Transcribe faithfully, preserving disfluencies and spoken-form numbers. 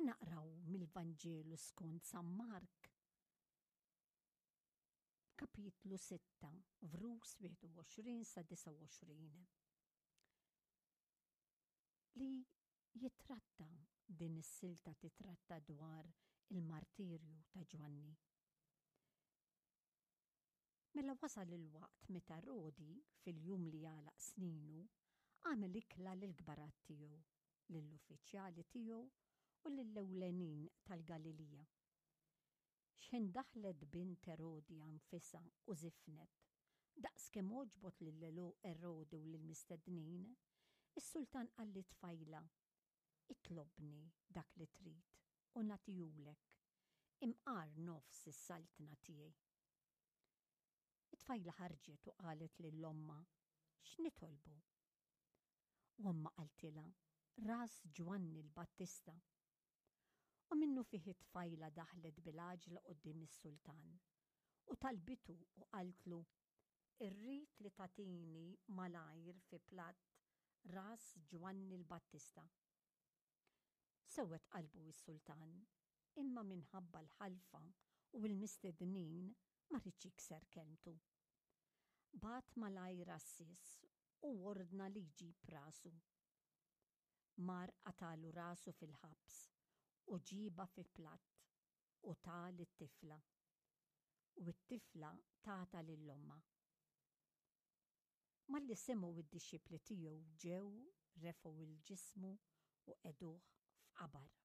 Ħa naqraw mill-Vanġelu skont San Mark, kapitlu sitta, vrus wieħed u għoxrin sa disgħa u għoxrin. Li jitratta din is-silta titratta dwar il-martirju ta' Ġwanni. Mela wasal il-waqt meta Erodi, fil-jum li għalaq sninu, għamel ikla lill-kbarat tiegħu, lill-uffiċjali tiegħu u lill-ewlenin tal-Galilija. Xħin daħlet bint Erodija nfisha u żifnet, daqs kemm għoġbot lil Erodi u lill-mistednin, is-sultan qal lit-tfajla, "Itlobni dak li trid u nagħtihulek, imqar nofs is-saltna tiegħi." It-tfajla ħarġet u qalet lil ommha, "X'nitolbu?" U ommha qaltilha, "Ras Ġwanni l-Battista." U minnufih it-tfajla daħlet bil-għaġla quddiem is-sultan u talbitu u qaltlu, "Irrid li tagħtini malajr fi platt ras Ġwanni l-Battista." Sewwed qalbu s-sultan, imma minħabba l-ħalfa u l-mistednin ma riedx jikser kelmtu. Bagħat malajr għassies u ordna li jġib rasu. Mar qatagħlu rasu fil-ħabs u ġiebha fi platt u ta lit-tifla. U t-tifla tatha lil ommha. Malli semgħu id-dixxipli tiegħu ġew, refgħu 'l ġismu u qegħduh f'qabar.